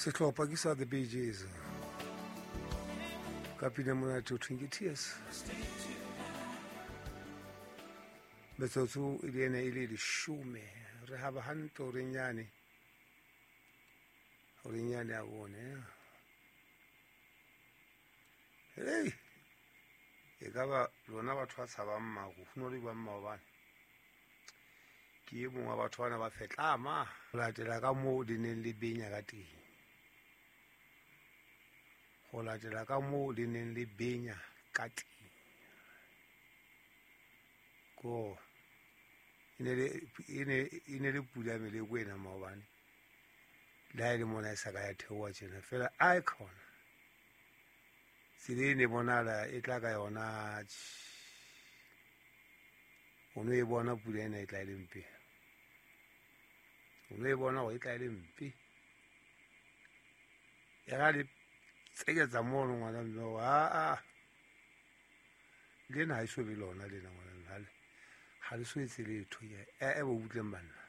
Sehlopha ke sa The Bee Gees ka pina monate o thweng ke Tears. Metsotso e le ena e le leshome re haba hantle horeng yane, horeng yane ya bone. Hei, e ka ba lona batho ba tshabang maru, ho no le jwang maobane? Ke e mong wa batho bana ba fetlama ho latela ka moo le neng le benya ka teng, ho latela ka moo le neng le benya ka teng. Ko e ne le pula meleko ena maobane, le ha e le mona e sa ka ya theoha tjena fela a e khona tsela e ne bonahala e tla ka yona. O no e bona pula ena e tla e le mpe, o no e bona hore e tla e le mpe. E ra le tseketsa mono ngwana mme hore aa lena ha e so be lona lena ngwana mme, ha le so etse letho. Ke e bo butleng banna,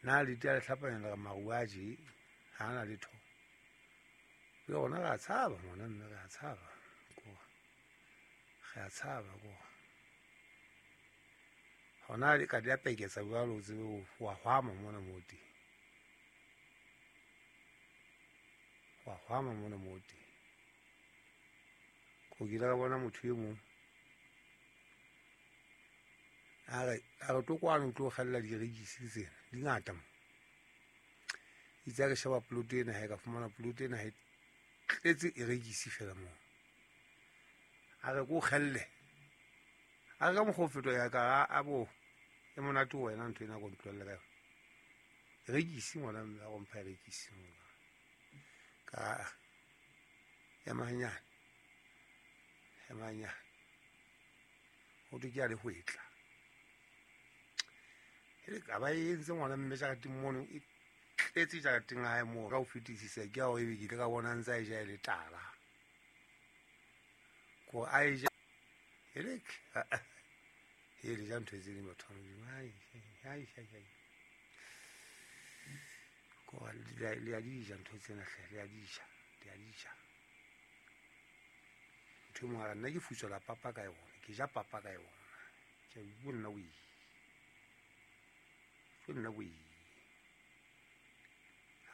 na le tea le hlapanya le re maru a je ha na letho. Le rona re a tshaba ngwana mme, re a tshaba ko, re a tshaba ko. Hona le ka di a peketsa jwalo, o tsebe wa hwama mona moo teng, wa hwama mona moo teng. Ko ke ile ka bona motho e mong a re tlo kwano o tlo kgella direkisi tsena di ngata mo. Itse ha ke sheba poloto ena, ha e ka fumana poloto ena ha e tletse erekisi fela moo. A re ko kgelle, a re ka mokgwa o fetwa ya ka a bo e monate ho wena ntho ena ko ntlohelle ka yona. Erekisi ngwana mme a go mpha erekisi ka ema hanyane, ema hanyane. Ho thwe ke a le hwetla. Hele ka ba e entse ngwana mme jareteng mono, e tletse jareteng ya hae moo. Ka ho fetisisa ke ya hore ebe ke ile ka bona ntse a e ja e le tala. Ko a e ja, hele, hele ja ntho tse ding batho ba Modimo. Ai, ai, ai, ai. Ko le a di ja ntho tsena hle, le a di ja, le a di ja. Ntho e nngwe nna ke futswela papa ka yona, ke ja papa ka yona. Ke a bua nna wee. Ke nna wee.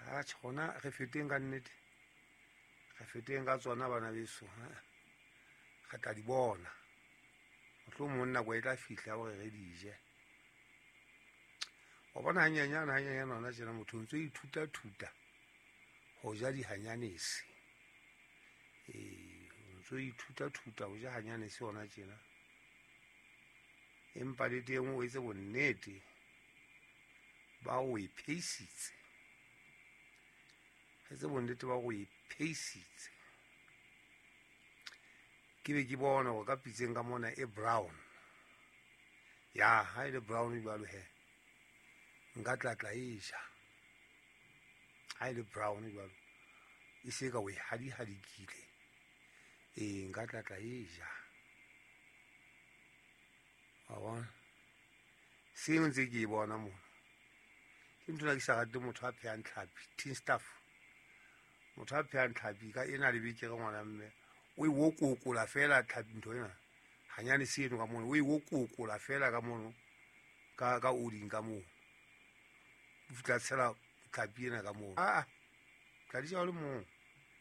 Atjhe, hona re feteng ka nnete. Re feteng ka tsona bana beso, ha. Re tla di bona. Mohlomong nako e tla fihla hore re di je. Wa bona hanyenyane, hanyenyane hona tjena motho o ntso ithuta thuta ho ja dihanyanese. Ee, o ntso ithuta thuta ho ja hanyanese hona tjena. Empa le teng o etse bonnete ba o e pheisitse. Etse bonnete ba o e pheisitse. Ke be ke bona hore ka pitseng ka mona e brown. Ya, ha e le brown jwalo he, nka tla e ja. Ha e le brown jwalo, e se ka o e hadihadikile. Ee, nka tla e ja. Wa bona? Seo ntse ke e bona mona. Ke ntho ena ke sa rate motho a phehang tlhapi, tin stuff. Motho a phehang tlhapi ka ena le bekere ngwana mme, o e wokokola fela tlhapi ntho ena. Hanyane seno ka mono, o e wokokola fela ka mono, ka oding ka moo. O fihla tshela tlhapi ena ka moo. Ah, tla di ja o le mong.